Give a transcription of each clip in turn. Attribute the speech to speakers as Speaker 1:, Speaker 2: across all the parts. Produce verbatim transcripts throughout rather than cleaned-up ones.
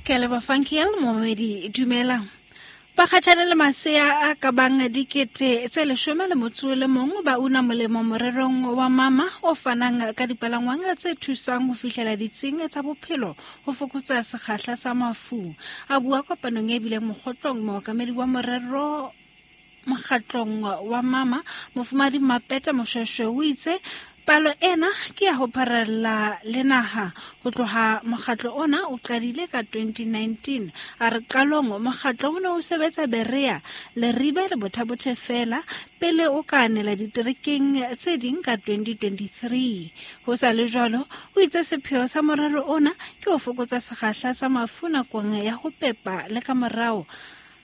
Speaker 1: Ke a leboha Funky momamedi, dumela. Bakgatjhane le masea a ka bang dikete tse leshome le motso le mong ba una molemo morerong wa mama o fanang ka dipalangwang tse thusang ho fihlela ditsing tsa bophelo ho fokotsa sekgahla sa mafu. A bua kopanong e bileng mokgotlong, mookamedi wa morero mokgatlong wa mama Mofumadi Mapeta Moshweshwe o itse palo ena ke ya ho pharella le naha ho tloha mokgatlo ona o qadile ka twenty nineteen. A re qalong mokgatlo o ne o sebetsa Berea, Leribe le Botha-Bothe fela pele o ka anela diterekeng tse ding ka twenty twenty-three. Ho sa le jwalo, o itse sepheo sa morero ona ke ho fokotsa sekgahla sa mafu nakong ya ho pepa le ka morao.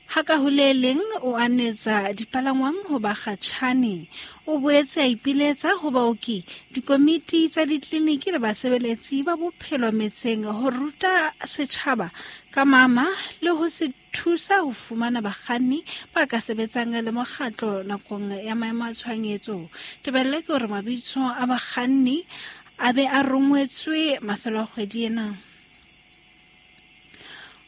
Speaker 1: Ha ka ho le leng o anetsa dipalangwang ho bakgatjhane. O boetse a ipiletsa ho baoki, dikomiti tsa ditleliniki le basebeletsi ba bophelo metseng ho ruta setjhaba ka mama le ho se thusa ho fumana bakganni ba ka sebetsang le mokgatlo nakong ya maemo a tshohanyetso. Tebello ke hore mabitso a bakganni a be a rongwetswe mafelo a kgwedi ena.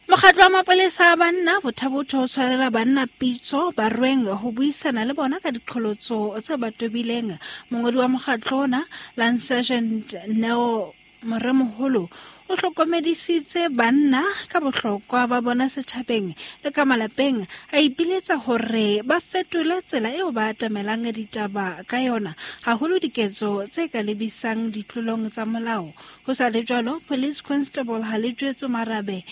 Speaker 1: Mokgatlo wa mapolesa a banna Botha-Bothe o tshwarela banna pitso barweng ho buisana le bona ka diqholotso tse ba tobileng. Mongodi wa mokgatlo ona, Lance Sergeant Neo Moremoholo, o hlokomedisitse banna ka bohlokwa ba bona setjhabeng le ka malapeng, a ipiletsa hore ba fetole tsela eo ba atamelang ditaba ka yona, haholo diketso tse ka lebisang ditlolong tsa molao. Ho sa le jwalo, Police Constable Halejwetso Marabe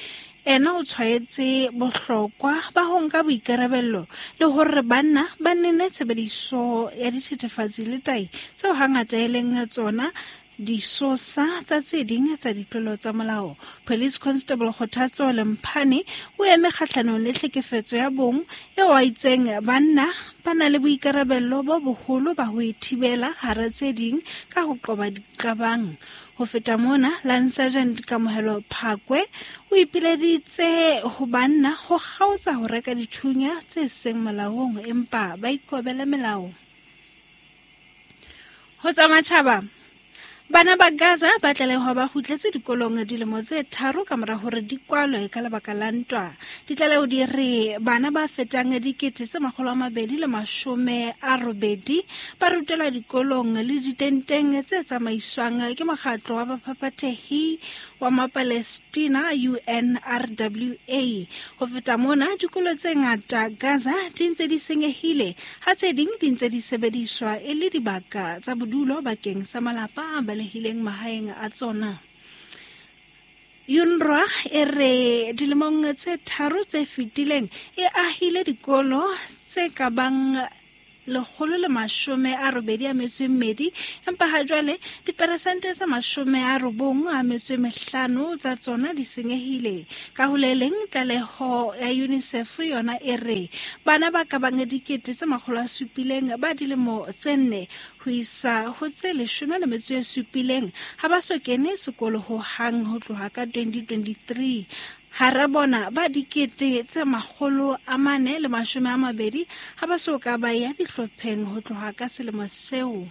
Speaker 1: ena o tshwaetse bohlokwa ba ho nka boikarabello le hore banna ba nene tshebediso ya dithethefatsi le tahi tseo hangata e leng tsona disosa tsa tse ding tsa ditlolo tsa molao. Police Constable Kgothatso Lemphane o eme kgahlanong le tlhekefetso ya bong eo a itseng banna ba na le boikarabello bo boholo ba ho e thibela hara tse ding ka ho qoba diqabang. Ho feta mona, Lance Sergeant Kamohelo Phakwe o ipileditse ho banna ho kgaotsa ho reka dithunya tse seng molaong empa ba ikobele melao. Ho tsa matjhaba, bana ba Gaza ba tlalehwa ba kgutletse dikolong dilemo tse tharo ka mora hore di kwalwe ka lebaka la ntwa. Ditlaleho di re bana ba fetang dikete tse makgolo a mabedi le mashome a robedi ba rutelwa dikolong le ditenteng tse tsamaiswang ke mokgatlo wa baphaphathehi wa Mapalestina U N R W A. Ho feta mona, dikolo tse ngata Gaza di ntse di senyehile ha tse ding di ntse di sebediswa e le dibaka tsa bodulo bakeng sa malapa a balehileng mahaeng a tsona. UNRWA e re dilemong tse tharo tse fetileng e ahile dikolo tse ka bang lekgolo le mashome a robedi a metso e mmedi, empa ha jwale diperesente tse mashome a robong a metso e mehlano tsa tsona di senyehile. Ka ho le leng, tlaleho ya UNICEF yona e re bana ba ka bang dikete tse makgolo a supileng ba dilemo tse nne ho isa ho tse leshome le metso e supileng ha ba so kene sekolo ho hang ho tloha ka twenty twenty-three. Hara bona ba dikete tse makgolo a mane le mashome a mabedi ha ba so ka ba ya dihlopheng ho tloha ka selemo seo.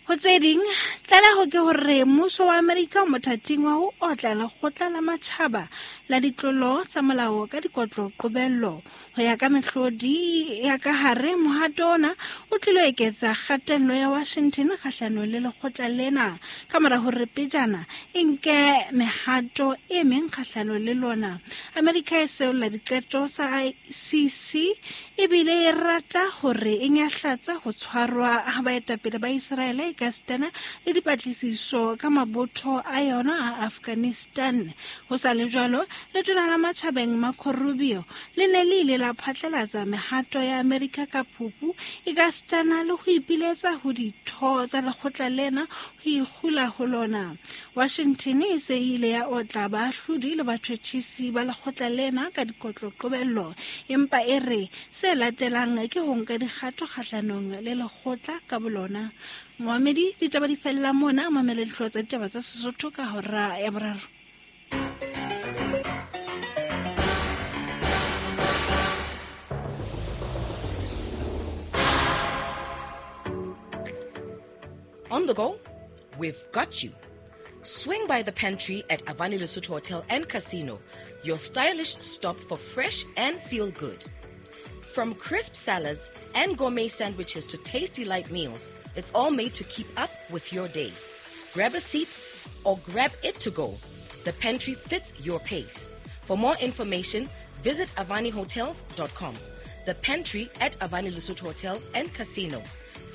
Speaker 1: Ho tse ding, tlaleho ke hore mmuso wa Amerika o mothating wa ho otla lekgotla la matjhaba la ditlolo tsa molao ka dikotlo qobello. Ho ya ka mehlodi ya ka hare, mohato ona o tlilo eketsa kgatello ya Washington kgahlanong le lekgotla lena ka mora hore pejana e nke mehato e meng kgahlanong le lona. Amerika e seolla diqeto sa I C C ebile e rata hore e nyahlatsa ho tshwarwa ha baetapele ba Israele ekasitana le dipatlisiso ka mabotho a yona a Afghanistan. Ho sa le jwalo, letona la matjhabeng Marco Rubio le ne le ile la phatlalatsa mehato ya Amerika ka Phupu ekasitana le ho ipiletsa ho ditho tsa lekgotla lena ho ikgula ho lona. Washington e se ile ya otla baahlodi le batjhotjhisi ba lekgotla lena ka dikotlo qobello, empa e re se latelang ke ho nka dikgato kgahlanong le lekgotla ka bolona. Moamedi, ditaba di fella mona, mamela dihlooho tsa ditaba tsa Sesotho ka hora ya boraro.
Speaker 2: On the go, we've got you. Swing by the pantry at Avani Lesotho Hotel and Casino, your stylish stop for fresh and feel good. From crisp salads and gourmet sandwiches to tasty light meals, it's all made to keep up with your day. Grab a seat or grab it to go. The pantry fits your pace. For more information, visit avani hotels dot com. The pantry at Avani Lesotho Hotel and Casino.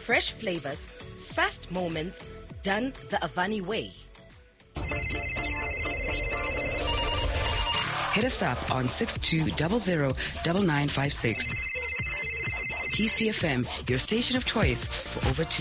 Speaker 2: Fresh flavors, fast moments, done the Avani way.
Speaker 3: Hit us up on six two zero zero nine nine five six. P C F M, your station of choice for over two